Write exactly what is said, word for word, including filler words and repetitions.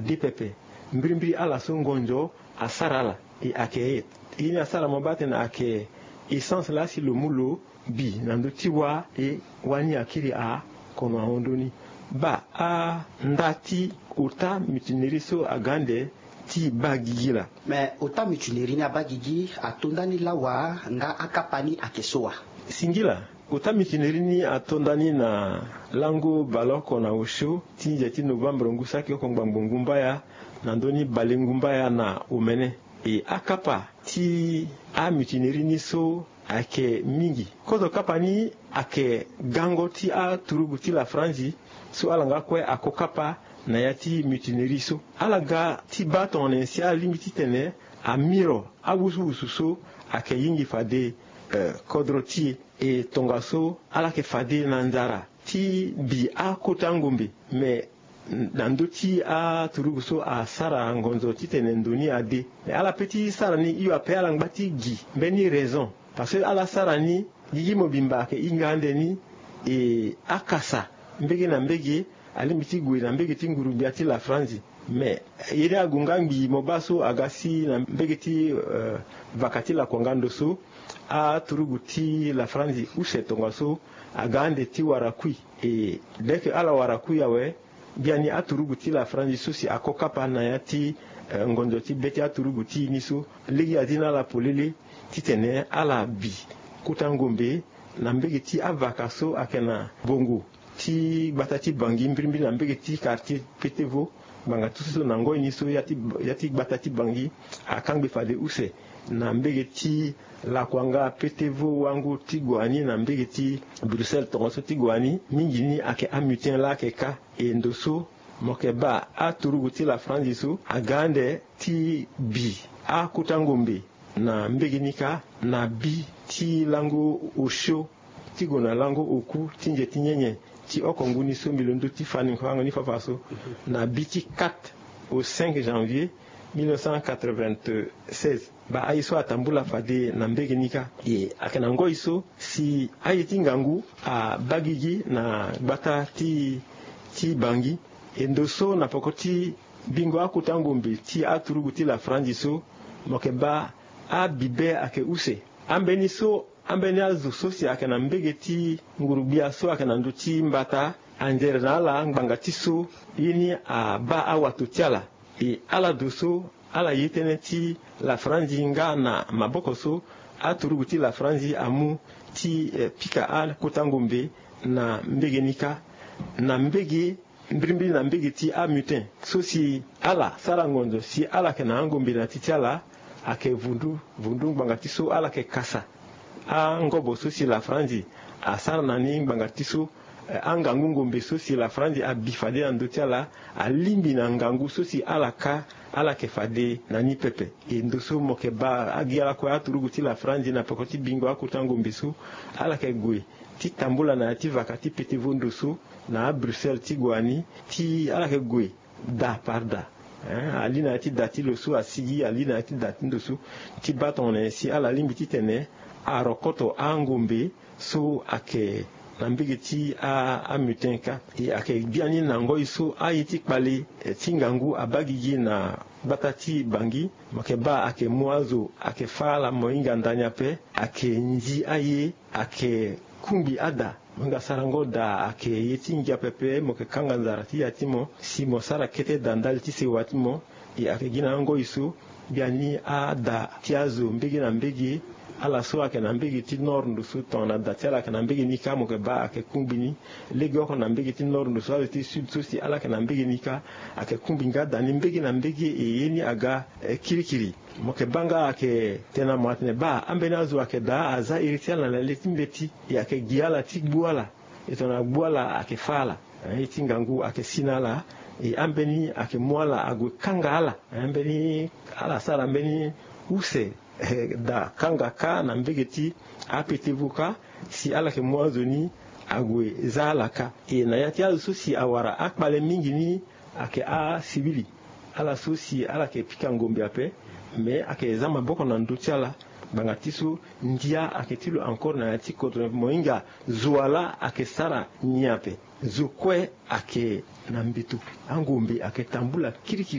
de pepe. Mbirimbiri ala so ngonzo asara ala. E ayeke ye ni asara mo baa tene ayeke essence laa si lo mu lo bi na ndö ti wâ. E wâ ni akiri akono ahon ndö ni. Baa, andaa ti ota mutinerie so aga ande ti baa gigi laa. Me ota mutinerie ni abaa gigi ato nda ni lawa? Nga akapa ni ayeke so wa? Singila. Ota mutinerie ni ato nda ni na lango baleoko na osio ti nze ti novembre ngu saki oko ngbangbo ngumbaya na ndö ni bale ngumbaya na omene. E akapa ti amutinerie ni so ayeke mingi. Kozo kapa ni ayeke gango ti aturugu ti la Franzi so ala nga kue ako kapa na ya ti mutinerie so. Ala ga ti baa tongana nyen si ala lingbi titene amiro awusuwusu so ayeke yingi fade, eh, kodro ti e. E tongaso ala yeke fade na nzara ti bi akota ngombe. Me na ndö ti aturugu so asara ngonzo titene ndo ni ade. Me ala pe ti sara ni hio ape ala ngba ti gi mbeni raison. Parce que ala sara ni gigi mobimba ayeke hinga ande ni. E akasa mbege na mbege alingbi ti gue na mbege ti nguru-gbia ti la Franzi. Me ye ni ague nga ngbii mo baa so aga si na mbege ti, eh, vaka ti lakuanga ndo so aturugu ti la Franzi use tongaso aga ande ti wara kui. E dès que ala wara kui awe, biani aturugu ti la Franzi so si ako kapa na ya ti, eh, ngonzo ti be ti aturugu ti e ni so, lege azi na ala polele titene ala bi kota ngombe na mbege ti avaka so ayeke na bongo ti gbata ti Bangui mbirimbiri na mbege ti quartier Petevo. Ngbanga ti so na ngoi ni so ya ti, ya ti gbata ti Bangui akangbe fade use na mbege ti lakuanga Petevo wango ti gue ani na mbege ti Bruxelles tongaso ti gue ani. Mingi ni ayeke amutin laa ayeke ka. E ndo so mo yeke baa aturugu ti la Franzi so aga ande ti bi akota ngombe na mbege ni kâ, na bi ti lango osio ti gue na lango oku ti nze ti nyenye ti oko ngu ni so mbi londo ti fa ni fango ni fafa so, na bi ti quatre au cinq janvier mille neuf cent quatre-vingt-seize. Baa aye so atambula fade na mbege ni kâ. E ayeke na ngoi so si aye ti ngangu abaa gigi na gbata ti, ti Bangui. E ndo so na peko ti bingo akota ngombe ti aturugu ti la Franzi so, mo yeke baa abibe ayeke use. Ambeni so, ambeni azo so si ayeke na mbege ti nguru-gbia so ayeke na ndö ti mbata anzere na ala ngbanga ti so ye ni abaa awato ti ala. E ala do so ala ye tënë ti la Franzi nga na maboko so aturugu ti la Franzi amu ti, eh, pika akota ngombe na mbege ni kâ. Na mbege mbirimbiri na mbege ti amutin so si ala sara ngonzo si ala yeke na angombe na ti ti ala, ayeke vundu vundu ngbanga ti so ala yeke kasa angobo so si la Franzi asara na ni ngbanga ti so, eh, angangu ngombe so si la Franzi abi fade na ndö ti ala alingbi na ngangu so si ala kâ, ala yeke fade na ni pepe. E ndo so mo yeke baa agi ala kue aturugu ti la Franzi na peko ti bingo akota ngombe so, ala yeke gue ti tambula na ya ti vaka ti Petevo ndo so na aBruxelles ti gue ani, ti ala yeke gue da par da. Hein, ali na ya ti da ti lo so asigi, ali na ya ti da ti ndo so, ti baa tongana nyen si ala lingbi titene arokoto angombe so ayeke na mbege ti a, amutin kâ. E ayeke biani na ngoi so aye ti kpale, eh, ti ngangu abaa gigi na gbata ti Bangui. Mo yeke baa ayeke mu azo ayeke fâ ala, mo hinga ndani ape, ayeke nzi aye, ayeke kungbi ada. Mo hinga sarango da ayeke ye ti ngia pepe, mo yeke kanga nzara ti ya ti mo si mo sara kete da ndali ti sewa ti mo. E ayeke gi na angoi so biani ada ti azo mbege na mbege, ala so ayeke na mbege ti nord ndo so tongana da ti ala ayeke na mbege ni kâ, mo yeke baa ayeke kungbi ni. Legeoko na mbege ti nord ndo so azo ti sud so si ala yeke na mbege ni kâ, ayeke kungbi nga da ni mbege na mbege. E ye ni aga, eh, kirikiri. Mo yeke baa nga ayeke tene na mo atene baa ambeni azo ayeke daa aza iri ti ala na le ti mbeti. E ayeke gi ala ti gbu ala. E tongana gbu ala ayeke fâ ala, eh, ye ti ngangu ayeke si na ala. E ambeni ayeke mu ala ague kanga ala. Eh, mbeni ala sara mbeni use, eh, da kanga kâ na mbege ti aPetevo kâ, si ala yeke mu azo ni ague za ala kâ. E na ya ti azo so si awara akpale mingi ni ayeke asivili. Ala so si ala yeke pika ngombe ape, me ayeke za maboko na ndö ti ala. Ngbanga ti so ndia ayeke ti lo encore na ya ti kodro, mo hinga zo wa laa ayeke sara nyen ape. Zo kue ayeke na mbeto. Angombe ayeke tambula kirikiri.